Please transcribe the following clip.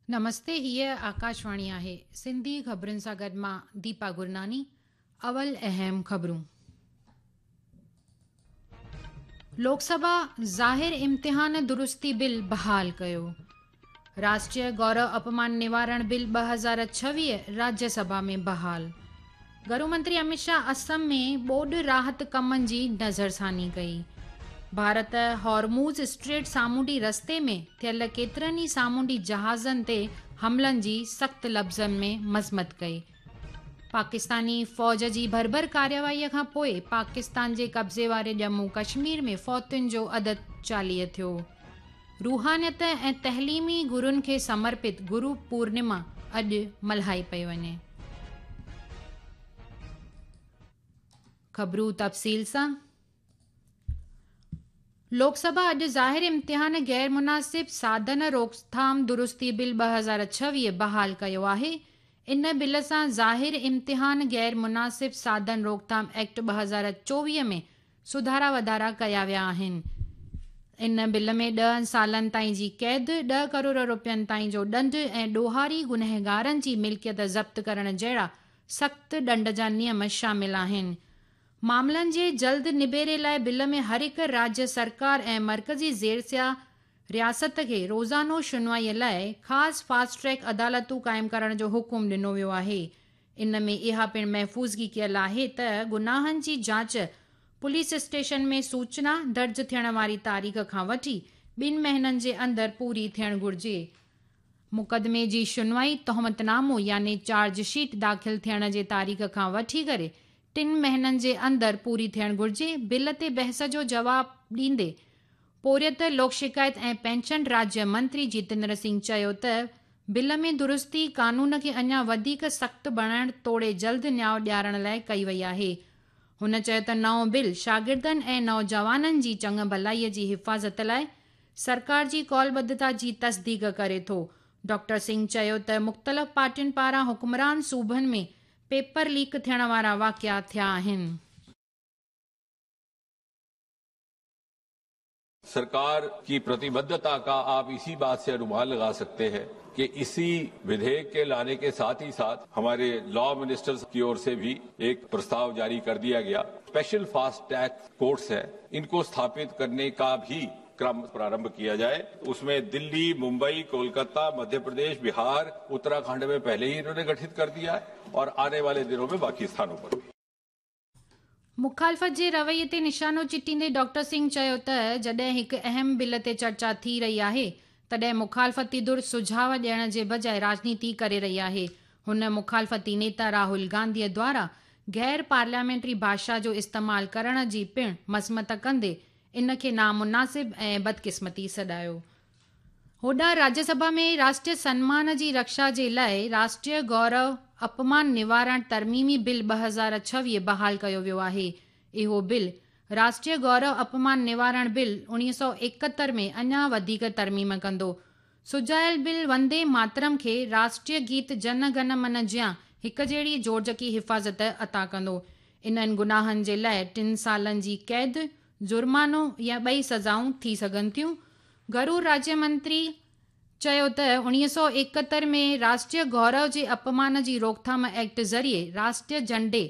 نمستي هيء آڪاشواڻي آهي سنڌي خبرن سان گڏ مان ديپا گرناني اول اهم خبرون. لوڪ سڀا ظاهر امتحان درستي بل بحال ڪيو. راشٽريه گورو اپمان نوارڻ بل 2026 راجيه سڀا ۾ بحال. گهرو منتري امت شاهه اسم ۾ ٻوڏ راحت ڪمن جي نظرثاني ڪئي. ڀارت هارموز اسٽريٽ سامونڊي رستي ۾ ٿيل ڪيترن ئي سامونڊي جهازن تي حملن جي سخت لفظن ۾ مذمت ڪئي. پاڪستاني فوج جي ڀرڀر ڪارروائي کان پوء پاڪستان جي قبضي واري ڄمون ڪشمير ۾ فوتين جو عدد 40 ٿيو. روحانيت ۽ تعليمي گرن کي سمرپت گرو پورنما اڄ ملهائي پئي وڃي. خبرون تفصيل سان، لوڪ سڀا اڄ ظاهر امتحان غير مناسب ساڌن روڪٿام درستي بل 2026 بحال ڪيو آهي. ان بل سان ظاهر امتحان غير مناسب ساڌن روڪٿام ايڪٽ 2024 ۾ سڌارا وڌارا ڪيا ويا آهن. ان بل ۾ 10 سالن تائين جي قيد، 10 ڪروڙ رپين تائين جو ڏنڊ ۽ ڏوهاري گنهگارن جي ملڪيت ضبط ڪرڻ جهڙا سخت ڏنڊ جا نيم شامل آهن. معاملن جي جلد نبيري لاء بل ۾ هر هڪ راجيه سرڪار ۽ مرڪزي زيرسيا رياست کي روزانو شنوائي لاء خاص فاسٽ ٽريڪ عدالتون قائم ڪرڻ جو حڪم ڏنو ويو آهي. ان ۾ اها پڻ محفوظگي ڪيل آهي ته گناهن جي جاچ پوليس اسٽيشن ۾ سوچنا درج ٿيڻ واري تاريخ کان وٺي ٻن مهينن جي اندر پوري ٿيڻ گهرجي. مقدمي جي شنوائي تهمت نامو يعني چارج شيٽ داخل ٿيڻ جي تاريخ کان وٺي ڪري ٽن مهينن جي اندر پوري ٿيڻ گهرجي. بل تي بحث جو جواب ڏيندي پورهيت، لوڪ شڪايت ۽ پينشن راجيه منتري جتيندر سنگهه چيو ته بل ۾ درستي قانون کي اڃا وڌيڪ سخت بڻائڻ توڙي جلد نياء ڏيارڻ لاء ڪئي وئي آهي. هن چيو ته نئون بل شاگردن ۽ نوجوانن جي چڱ ڀلائي جي حفاظت لاء سرڪار جي قولبڌتا جي تصديق ڪري ٿو. ڊاڪٽر سنگهه چيو ته مختلف پارٽين پاران حڪمران صوبن ۾ پيپر ليڪ ٿيڻ وارا واقعا ٿيا آهن. सरकार की प्रतिबद्धता का आप इसी बात से अनुमान लगा सकते हैं कि इसी विधेयक के लाने के साथ ही साथ हमारे लॉ मिनिस्टर्स की ओर से भी एक प्रस्ताव जारी कर दिया गया। स्पेशल फास्ट ट्रैक कोर्ट्स है, इनको स्थापित करने का भी क्रम प्रारंभ किया जाए। उसमें दिल्ली, मुंबई, कोलकाता, मध्य प्रदेश, बिहार, उत्तराखंड में पहले ही इन्होंने गठित कर दिया है और आने वाले दिनों में बाकी स्थानों पर भी। مخالفت جي رويي تي نشانو چٽيندي ڊاڪٽر سنگهه چيو ته جڏهن هڪ اهم بل تي چرچا ٿي رهي آهي تڏهن مخالفتي ڌر سجهاء ڏيڻ جي بجاء راڄنيتي ڪري رهي آهي. هن مخالفتي نيتا راهول گانڌي دوارا غير پارليامينٽري ڀاشا جو استعمال ڪرڻ جي پڻ مذمت ڪندي ان کي نامناسب ۽ بدقسمتي سڏايو. هوڏانهن راجيه سڀا ۾ راشٽريه سنمان جي رڪشا جي لاء راشٽريه گورو اپمان نوارڻ ترميمي بل 2026 بحال ڪيو ويو آهي. اهو بل راشٽريه گورو اپمان نوارڻ بل 1971 ۾ اڃا وڌيڪ ترميم ڪندو. سجايل بل وندي ماترم کي راشٽريه گيت جن گن من جيان هڪجهڙي جوڙجڪي حفاظت عطا ڪندو. انهن گناهن جي لاء ٽن سالن جي قيد، جرمانو يا ٻئي سزائون ٿي سگهن ٿيون. گهرو راجيه منتري چيو ته 1971 ۾ راشٽريه گورو جي اپمان جي روڪٿام ايڪٽ ذريعي راشٽريه جهنڊي